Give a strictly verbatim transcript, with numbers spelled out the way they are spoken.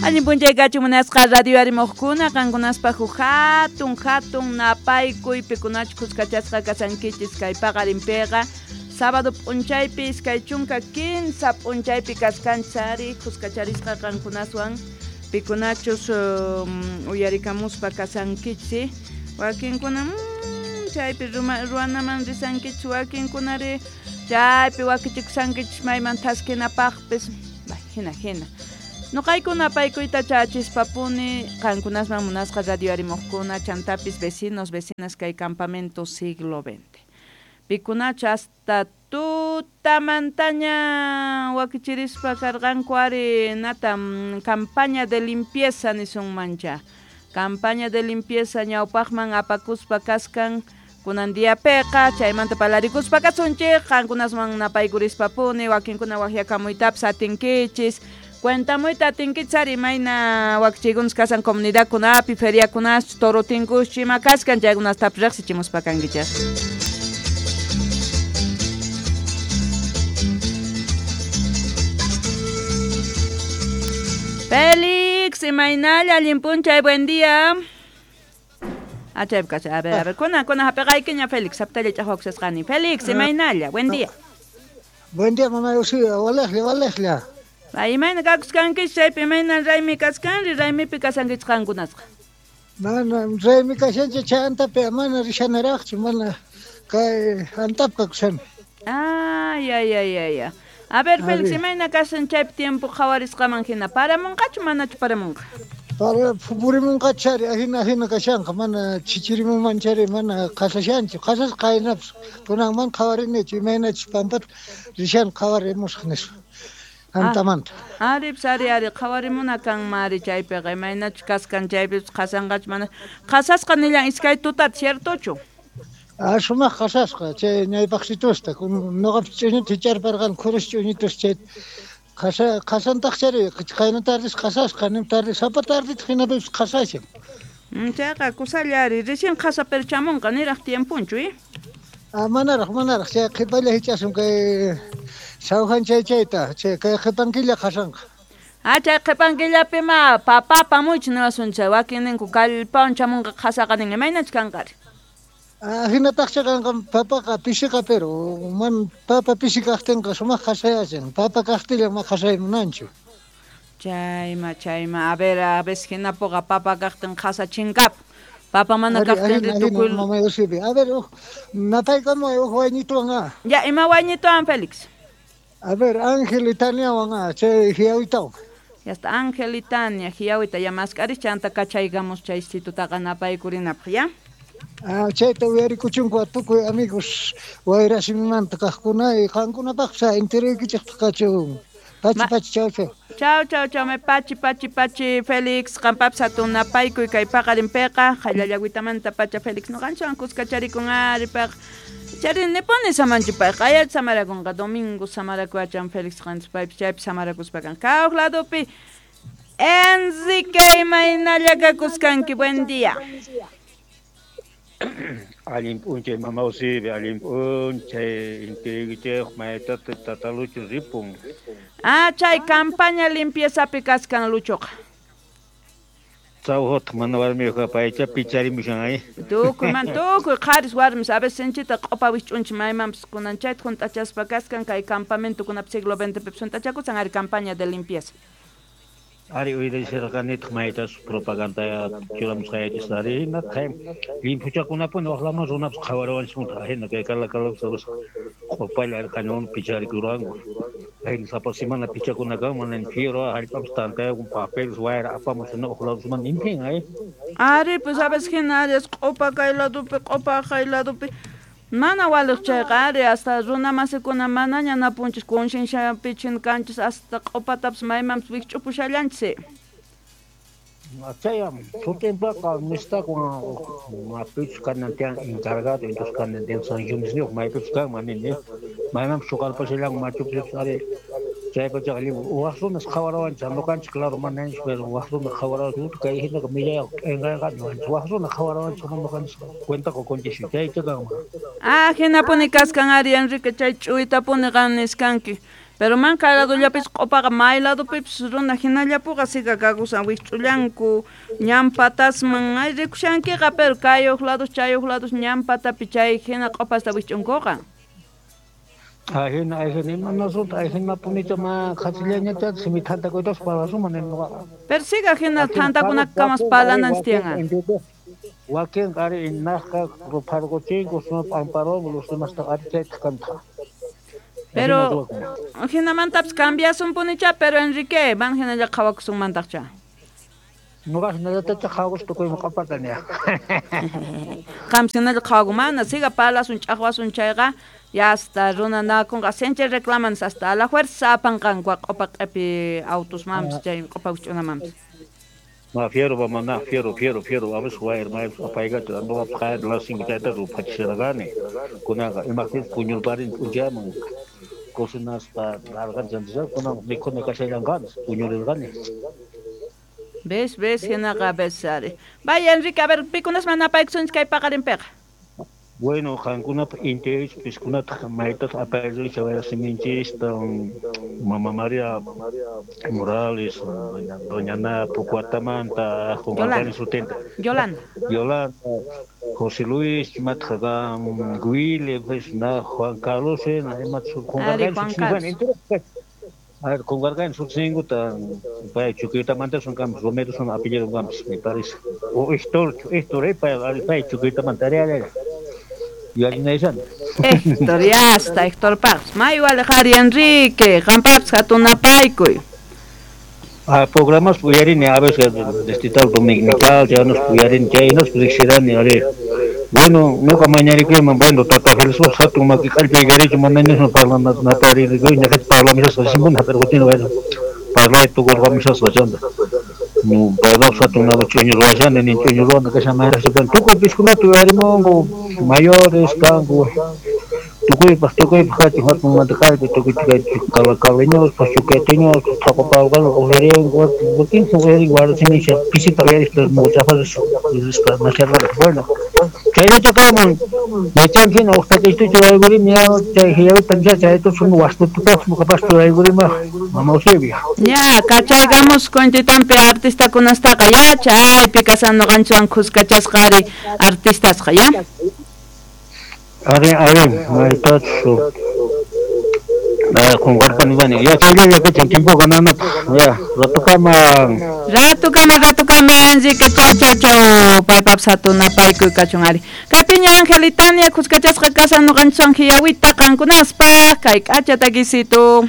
Allin p'unchay kachun munasqa radio arimuqkuna qankunaspaq huk hatun hatun napaykuy pikunachu kuskachasqa kasankichis kay paqarinpiqa sábado p'unchaypi iskay chunka kinsa p'unchaypi kaskanchis ari kuskacharisqa qankunaswan pikunachus um, uyarikamuspa kasankichis wakinkuna mm, chaypi ruwanaman risankichis wakinkunari chaypi wakichikusankichis mayman thaskinapaqpis hina hina Noqaykuna paykuyta chachispapuni qankunasman munasqa radio arimuqkuna chantapis vecinos vecinas kay campamento siglo veinte. Pikunachu hasta tutamantaña wakichirispa karqanku ari nata campaña de limpieza nisunmancha. Campaña de limpieza ñawpaqman apakuspa kaskan kunan diapiqa chaymanta palarikuspa kasunchik qankunasman napaykurishpapuni wakinkuna waqyakamuytapis atinkichis. Cuentamuyta atinkichis ari mayna wakichiykunas kasan comunidadkunapi feriakunas toro tinkush ima kaskan chaykunastapis riqsichimuspa kankichik. Félix, imaynalla allin p'unchay, buen día. Ah, chaypi kashan. A ver, a ver, kuna kuna hap'iqaykiña Félix, haptalla ch'aqwakusasqani. Félix, imaynalla, buen día. Buen día, mamá Eusebia, walejlla, walejlla. Ay, imayna kakuskankichis chaypi imayna raymi kaskanri, raymipi kasankichis qankunasqa. Mana raymi kashanchik chay antapi mana rishanaraqchu, mana kay antapi kakushani. Ay, ay, ay, ay, ay. A ver, Félix, imayna kasan chaypi tiempo qhawarisqaman hina paramunqachu manachu paramunqa? Para purimunqachu ari ahina ahina kashanqa, mana chichirimunman chari mana qasashanchu, qasasqa qaynapas kunanman qhawarinichu imaynachus pampata rishan qhawarimusaq nispa. Antamanta. Ari, ari, ari, qhawarimuna kanman ari chaypiqa imaynachus kaskan chaypipas qasanqachu mana qasasqa nillan iskay tutata ciertochu? Ah, sumaq qasasqa chay ñawpaqsitusta nuqapis ch'uñuta hicharparqani khurus ch'uñutas chay qasa qasantaq chari qayna tardis qasasqa nim tarde sapa tardita hinapipis qasashan. Chayqa kusalla ari recién qasa pero chamunqa niraq tiemponchu eh? Ah, manaraq manaraq chay qhipalla hich'asun kay sawhan chay chayta chay kay qhipankilla qasanqa. Ah, chay qhipankillapima papa apamuych niwasun chay wakin ninku kallpawan chamunqa qasaqa nin imaynachus kanqari. Ah, hinataqcha kanqa papaqa pishiqa pero man papa pishi kaqtinqa sumaq qasayachin papa kaqtillan ma qasaymunanchu. Chayma chayma a ver a veces hinapuqa papa kaqtin qasa chinkap papa mana kaqtin tukuy mamá Eusebia. A ver uj napaykamuy uj wayñituwan ah. Ya ima wayñituwan Félix. A ver Ángel y Taniawan ah chay hiyawitawan. Ya está Ángel y Tania hiyawita ya mask'aris chanta kachaykamos chay situtaqa napaykurinapaq ya. Ah, chayta uyarikuchunku tukuy amigos wayrasimimanta kaqkuna y qankunapaqpas enteraykichikpaq kachun. Pachi pachi chau chau. Chau chau chau me pachi pachi pachi Félix qampapis hatun napaykuy kay paqarinpiqa qhallallagüitamanta pacha Félix nuqanchikwan kuskacharikun ari payqa chari nipuni samanchu payqa qaya samarakunqa domingo samarakuachan Félix qanchis paypis chaypi samarakuspa kan kawaq ladopi Enrique imaynalla kakuskanki buen día. Allin p'unchay mama Eusebia, allin p'unchay intiraykichik maytata tata Lucho ripun. Ah, chay campaña limpieza kaskan Luchoqa. Sawhutaq mana warmiyuqqa paycha picharimushan ay. Tukuy man tukuy qharis warmis a veces sinchita q'upa wisch'unchik maymanpis kunan chayta hunt'achaspa kaskan kay campamentokunapi siglo veintepipis hunt'achakusan ari campaña de limpieza. Ari uyarishirqanitaq maytas propaganda churamusqaychis ari hinataq limpuchakunapuni waqlaman runapas qhawariwanchikmanta hina kay kalakalapas q'upalla qañuwan picharikurqanku. Hina sapa semana pichakuna kan mana fierro hallp'apas tantayakun papeles wayra apamus hina uq ladusman limpin ay. Ari pues a veces hina ari q'upa kay ladupi q'upa kay ladupi mana waliq chayqa ari hasta runa masikuna manaña napunchis concienciapi kanchis hasta q'upatapas maymanpis wikch'upushallanchis. Chayam sutinpaqa nistakun mapichus kanan tiyan encargado entonces kanan tiyan sancionesniyuq maypichus kanman nini maymanpis chuqarpashallanku machupis ari chaypachaqa waq runas qhawarawanchis nuqanchik claro mananchis pero waq runa qhawarawanchis kay hinaqa millayqa p'inqayqa waq runa qhawarawanchis nuqanchis cuenta qukunchis chaycha kanman. Ah, hinapuni kaskan ari Enrique chay ch'uytapuni qan niskanki. Pero man kay ladollapis q'upaqa may ladopipis runa hinallapuqa siga kakusan wikch'ullanku ñan patasman ay rikushankiqa pero kay huk lados chay huk lados ñan patapi chay hina q'upasta wikch'unkuqa. Ajina, ajina, imanasunta, ajina punita ma qhasillañata simi thantakuytas parlasunman nuqaqa. Pero siga hina thantakunakamas parlananchis tiyan. Wakin qhari inaqqa rupharquchinku suma p'amparuwan los demás ari chaytaq kantaq. Pero hinamantapis cambiasunpunicha pero Enrique, van hinalla qhawakusunmantaqcha. Nuqa hinallatachá qhawakuspa tukuyman q'apata niya. Qam hinalla qhawakumana, siga parlasun ch'aqwasun chayqa ya hasta runa nakunqa sinchi reclaman hasta a la fuerza apanqanku q'upa q'ipi autusmanpis chay q'upa wikch'unamanpis. Ma fiero va mana fiero fiero fiero a veces wayr may apaygata nuqa qhayar las cinco chayta ruphachisharqani kunaqa imaqtinpis puñurparin p'unchayman cocinaspa larqanchis kunan mikhuna kashallanqanis puñurirqani. Ves, ves, hinaqa ves ari. Vaya Enrique, a ver, pikunasman napaykusunchis kay paqarinpiqa. Bueno, qankunapaq intiris piskunataq maytataq apayricha wayrasinminchista Mama María Morales, doña, doña Ana Pucuatamanta, Yolanda. Sutenta. Yolanda. Yolanda, José Luis, matqa Willy, pues, na Juan Carlos, na Ari Juan Carlos. A ver, con Gargan sutsinkuta pay Chuquiltamanta son campos, Romero son apellido campos, me parece. O Héctor, Héctor, eh, pay, pay Chuquiltamanta, ari, ari. Héctor, ya está, Héctor Paz. May wale Enrique, qampapas hatun napaykuy. Ah, programas uyarini a veces distrital dominical, ya nos uyarini, chay nos riqsirani ari. Bueno, nuqa mañarikuyman, bueno, tata Félix hatun maki kallpay garichu manañasman parlana naparikuy, ñaqach parlamishasqa simuna, pero kutin bueno, parlay tukurqamishasqa chanta. Payqa hatun nada ch'uñu ruwashani, nin ch'uñu ruwana kashan mayraqcha, tukuy piskunata uyarimunku, mayores kanku, tukuypaq tukuypaq kachun hatun manta kallpay tukuy caleñospas, chuqueteñospas, thaqapalqan uyarinku, wakin uyarinku warasinisha pisita uyarispa muchafas rispa masharqaraq. Bueno, chayllacha kayman yachanki hina uqta k'ishtucha raykurimi ya chay hiyawita nisha chayta sunu wastutupaq nuqapas raykurima mama Eusebia. Ya, kachaykamus kuntitampi artistakunastaqa ya chaypi kasan nuqanchikwan khuskachasqa ari artistasqa ya. Ari, ari, maytachu qunqarpani bani. Ya chaylla kachan tiempo gananapaq. Ya, ratukama. Ratukama, ratukama, Enrique, chau, chau, chau. Paypapas hatun napaykuy kachun ari. Kaypiña Angelitania khuskachasqa kasan nuqanchikwan hiyawita qankunaspaq kay k'acha takisitu.